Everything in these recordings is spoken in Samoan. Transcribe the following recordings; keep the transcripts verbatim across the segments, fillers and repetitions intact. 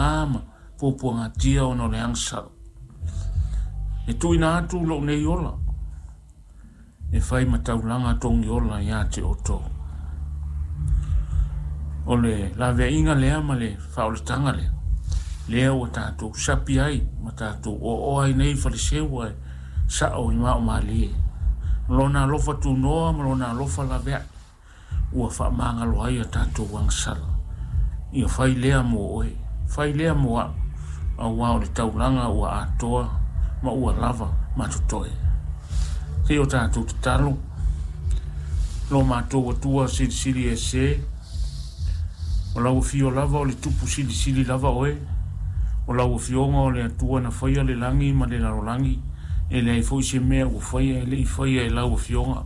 faigata ma puapuagatia ona o le agasala. E tuuina atu lou nei ola e fai ma taulaga togiola ia te outou. O le laveaiga lea ma le faaolataga lea, lea ua tatou sapi ai ma tatou oaoa ai nei faleseu ae sao i maomalie. O lona alofa tunoa ma lona alofa laveai ua faamagalo ai a tatou agasala. Ia fai lea mo oe, fai lea mo au, auā o le taulaga ua atoa ma ua lava ma totoe. Se i o tatou tatalo, lo matou Atua silisili ese, o lau afio lava o le tupu silisili lava oe, o lau afioga o le Atua na faia le lagi ma le lalolagi, e leai foi se mea ua faia e le i faia e lau afioga.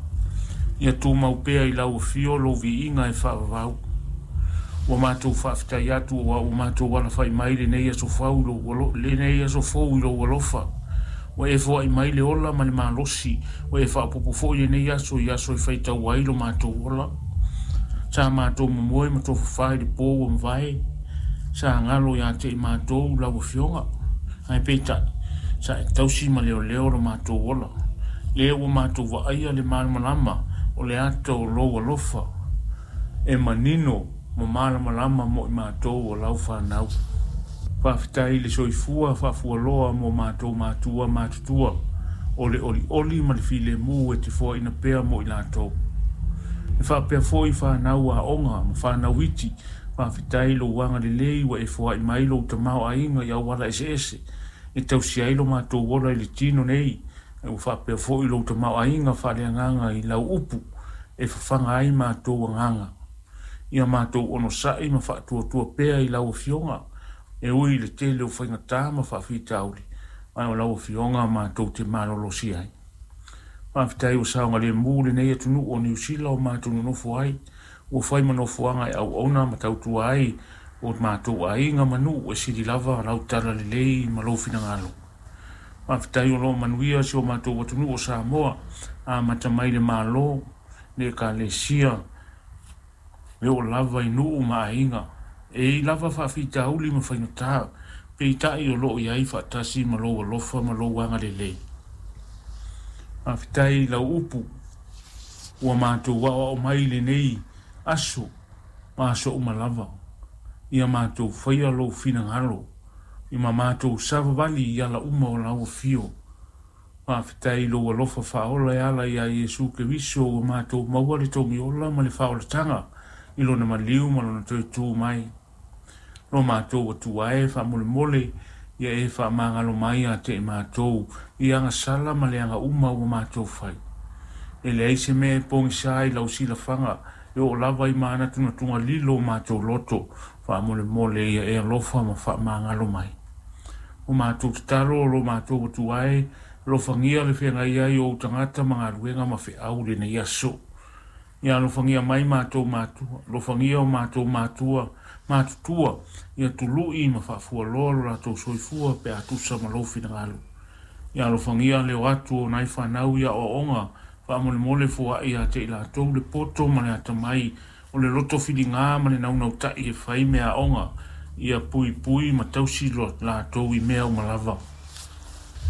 Ia tumau pea i lau afio lou viiga e faavavau. Ua matou faafetai atu aua ua matou alafai mai lenei aso fou lenei aso fou i lou alofa. Ua e foai mai le ola ma le malosi, ua e faaopoopo foi lenei aso i aso e faitau ai lo matou ola. Sa matou momoe ma tofafa i le po ua mavae, sa galo ia te i matou lau afioga, ae peitai, sa e tausi ma leoleo lo matou ola. Lea ua matou vaaia le malamalama o le ata o lou alofa, e manino ma malamalama mo i matou o lau whanau. Faafetai i le soifua faafualoa mo matou matua matutua, o le olioli ma le filemu e te foaina pea mo i latou. E faapea foi whanau aoga ma whanau iti, faafetai lou agalelei ua e foai mai lou tamaoaiga i auala eseese, e tausi ai lo matou ola i le tino nei, e ua faapea foi lou tamaoaiga faaleagaga i lau upu, e fafaga ai matou agaga. Ia matou onosai ma faatuatua pea i lau afioga, e ui i le tele o faigata ma faafitauli, ae o lau afioga matou te malolosi ai. Faafetai ua saogalemu lenei atunuu o Niu Sila o matou nonofo ai, ua fai ma nofoaga e auauna ma tautua ai o matou aiga ma nuu e sili lava lau talalelei ma lou finagalo. Faafetai o loo manuia si o matou atunuu o Samoa, amata mai le Malo, le Ekalesia, e oo lava i nuu ma aiga. E i lava faafitauli ma faigata, peitai o loo i ai faatasi ma lou alofa ma lou agalelei. Faafetai i lau upu ua matou aoao mai lenei aso ma aso uma lava. Ia matou faia lou finagalo, i ma matou savavali i ala uma o lau afio. Faafetai i lou alofa faaola e ala ia Iesu Keriso ua matou maua le togiola ma le faaolataga i lona maliu ma lona toe tu mai. Lo matou Atua e faamolemole, ia e faamagalo mai ia te i matou i agasala ma le aga uma ua matou fai. E leai se mea e pogisa i lau silafaga, e oo lava i manatunatuga lilo o matou loto, faamolemole ia e alofa ma faamagalo mai. O matou tatalo o lo matou Atua e, alofagia le feagai ai o ou tagata ma galuega ma feau lenei aso. Ia alofagia mai matou matua, alofagia o matou matua, matutua, ia tului ma faafualoa lo latou soifua pe a tusa ma lou finagalo. Ia alofagia le o atu o nai whanau ia aoaoga, faamolemole foai ia te i latou le poto ma le atamai, o le loto filiga ma le naunautai e fai mea aoga, ia puipui ma tausi lo latou i mea uma lava.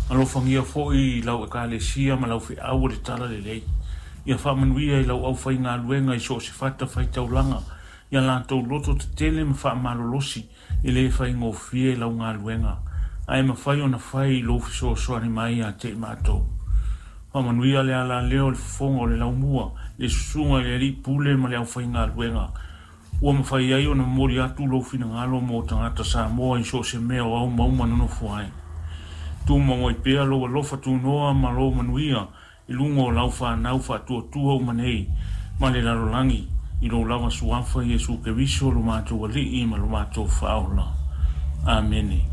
Alofagia foi lau ekalesia ma lau feau o le talalelei. Ia faamanuia i lau aufaigaluega i so o se fatafaitaulaga, ia latou loto tetele ma faamalolosi e le faigofie lau galuega, ae mafai ona fai i lou fesoasoani mai ia te i matou. Faamanuia le alaleo o le fofoga o le laumua, le susuga i le alii pule ma le aufaigaluega, ua mafai ai ona momoli atu lou finagalo mo tagata Samoa i so o se mea o aumauma nonofo ai. Tumau ai pea lou alofa tunoa ma lou manuia i luga o lau whanau faatuatua uma nei ma le lalolagi i lou lava suafa Iesu Keriso lo matou alii ma lo matou faaola. Amene.